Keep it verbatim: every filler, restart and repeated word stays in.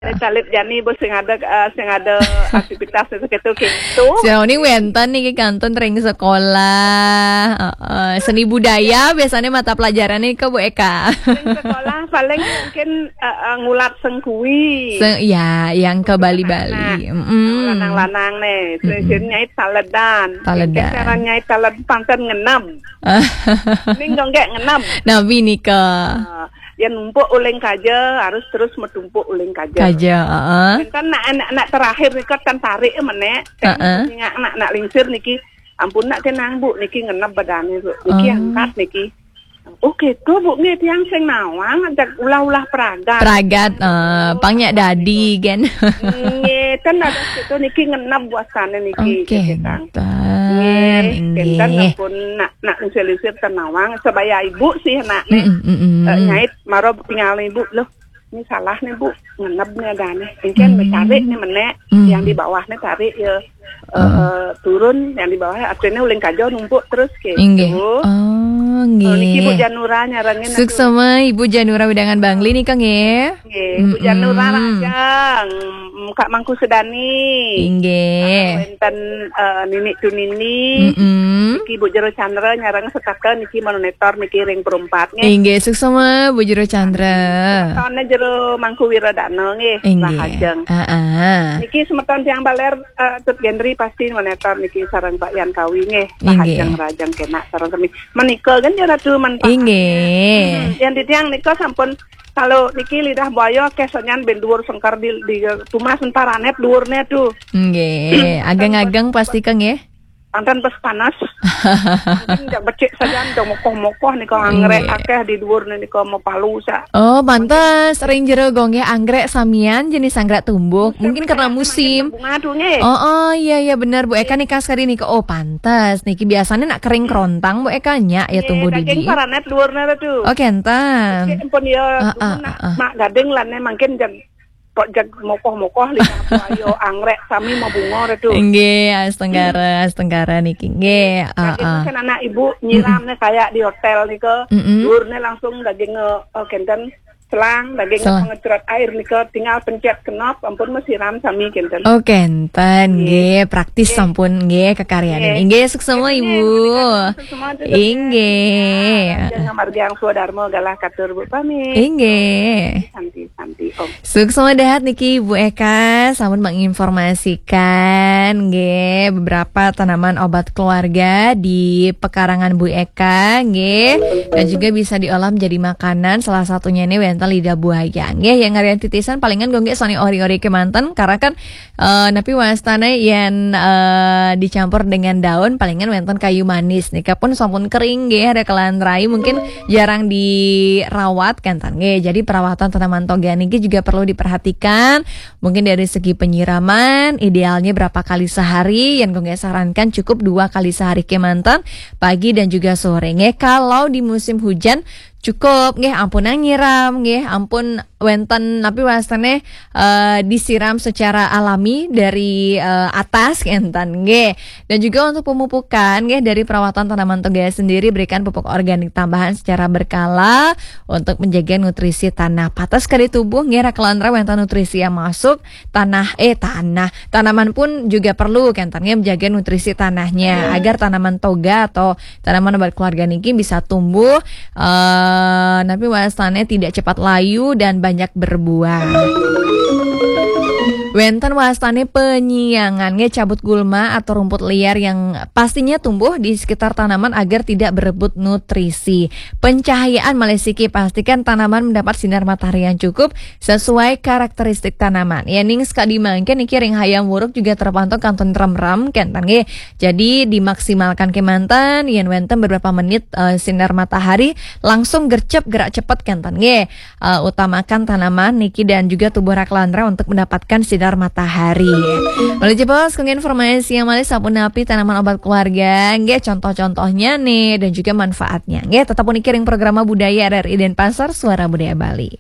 Caleg jani, Bu, sing ada, eh, sing ada aktivitas itu gitu, gitu. Sira uning wénten niki kantun ring sekolah. Heeh. Seni budaya biasanya mata pelajaran nih ke Bu Eka. Ring sekolah paling mungkin, eh, eh, ngulat senggui. Se- ya, yang ke Bali-Bali. Mm-mm. Lanang-lanang nih, sing nyait taledan. Taledan. Sing nyait taledan pantun ngenep. Ning dong nggak ngenep. Nabi nika. Eh, ya numpuk uling kaja, harus terus metumpuk uling kaja. Kaja, heeh. Kan nak, nak, nak terakhir nika kan tarik menek. Heeh. Nak, nak lingsir niki, ampun nak tenang, Bu, niki ngenep badane, Bu. Niki Oh. angkat niki. Oh gitu, Bu, nggih, tiang sing nawang, ajak ulah-ulah pragat. Pragat, eh, pang nyak dadi, kan. Nggih, ten ada situ niki ngenep buasane niki, Oke, gitu, Kang. Nggih, nggih. Ten ampun nak, nak lingsir-lingsir ten nawang, sebaya ibu sih nak nih. Mm-mm, mm-mm. Eh, nyait, maro tinggal ibu, loh, ini salah nih, Bu, ngenep nih adane. Ini kan Hmm. tarik nih menek, Hmm. yang di bawah nih tarik ya. Eh, eh, turun, yang di bawah artinya uling kaja numpuk terus gitu. Inggih. Oh, nggih. Oh, niki Bu Janura nyarengin aku. Suksema Ibu Janura wewidangan Bangli nika nggih. Nggih, Bu Janura Mm-mm. Rajang, Kak Mangku Sedani. Inggih. Wénten, eh, Nini Tunini. Mm-mm. Niki Bu Jero Chandra nyareng setata niki monitor niki ring perumpat nggih. Inggih, suksema Bu Jero Chandra. Tone Jero Mangku Wiradana nggih, Inggih. Rahajeng. Heeh. Niki semeton tiang baler, eh, Tut Gendri pasti monitor niki sareng Pak Yan Kawi nggih. Inggih. Rahajeng, rahajeng kenak sareng sami. Menika kan ya Ratu manfaat. Inggih. Hmm, yang di tiang nika sampun kalau niki lidah buaya akeh sonyan ben dhuwur sengkar di, di tumas entaranet dhuwurne tuh. Nggih, ageng-ageng pasti ke nggih. Panten pas panas. Mungkin jak becik saja, jak mokoh-mokoh nika anggrek Nggih. akeh di dhuwur nika mau palu sak. Oh, pantes ring jero gong nggih anggrek samian jenis anggrek tumbuh. Mungkin karena musim. Bunga tuh nggih. Oh, oh, iya, iya, bener, Bu Eka nika sekali nika. Oh, pantes. Niki biasanya nak kering kerontang, Bu Eka, nyak ya Nggih, tumbuh daging didi. Paranet dhuwurne tuh. Oh, kenten. Becik pun ya, Ah, ah, cuman nak, ah, ah. mak gading lane mungkin jag, kok jag mokoh-mokoh lidah buaya anggrek sami mau bunga tuh. Inggih, astenggara, astenggara niki. Nggih, Jadi ah, ah. kan anak ibu nyiramnya kayak di hotel nika. Mm-mm. Dhuwurne langsung daging, eh, kenten selang, daging Selang. pengecrot air nika tinggal pencet knop, ampun mesiram sami kenten. Oh, kenten, Nggih. nggih, praktis Nggih. sampun nggih kekaryanin. Nggih. Inggih, suksema Nggih, Ibu. menika suksema tetep Inggih. Jangan margi yang swadharma galah katur Bu pamit. Inggih. Santi, santi, Om. Suksema dahat niki Bu Eka, sampun menginformasikan nggih beberapa tanaman obat keluarga di pekarangan Bu Eka nggih, dan juga bisa diolah menjadi makanan, salah satunya ini wénten lidah buaya nggih. Yang ngarian titisan palingan gongge sani ori-ori kemanten karena kan, eh, napi wastane yen, eh, dicampur dengan daun palingan wénten kayu manis nika pun sampun kering nggih, ada kelan rai mungkin jarang dirawat kan tan nggih. Jadi perawatan tanaman toga niki juga perlu diperhatikan. Mungkin dari segi penyiraman, idealnya berapa kali sehari? Yang gue sarankan cukup dua kali sehari kemanten, pagi dan juga sore. Nggih, kalau di musim hujan cukup nggih ampun nyiram nggih ampun wénten napi wastane, eh, disiram secara alami dari, eh, atas kenten nggih. Dan juga untuk pemupukan nggih dari perawatan tanaman toga sendiri berikan pupuk organik tambahan secara berkala untuk menjaga nutrisi tanah. Patas kali tubuh nggih ra kelantra wénten nutrisi yang masuk tanah, eh, tanah. Tanaman pun juga perlu kenten nggih menjaga nutrisi tanahnya agar tanaman toga atau tanaman obat keluarga niki bisa tumbuh, eh, tapi wastane tidak cepat layu dan banyak berbuah. Wénten wastane penyiangan nggih cabut gulma atau rumput liar yang pastinya tumbuh di sekitar tanaman agar tidak berebut nutrisi. Pencahayaan malih siki pastikan tanaman mendapat sinar matahari yang cukup sesuai karakteristik tanaman. Yening sekadi mangkin niki ring hayam wuruk juga terpantau kantun rem-rem kenten nggih. Jadi dimaksimalkan kemanten yen wénten beberapa menit, eh, sinar matahari langsung gercep gerak cepet kenten nggih. Eh, utamakan tanaman niki dan juga tubuh ra kelantra untuk mendapatkan sinar matahari. Malih jebos kangge informasi yang malih sapunapi tanaman obat keluarga nggih contoh-contohnya nih dan juga manfaatnya. Nggih tetap puniki ring programa Budaya R R I Denpasar Suara Budaya Bali.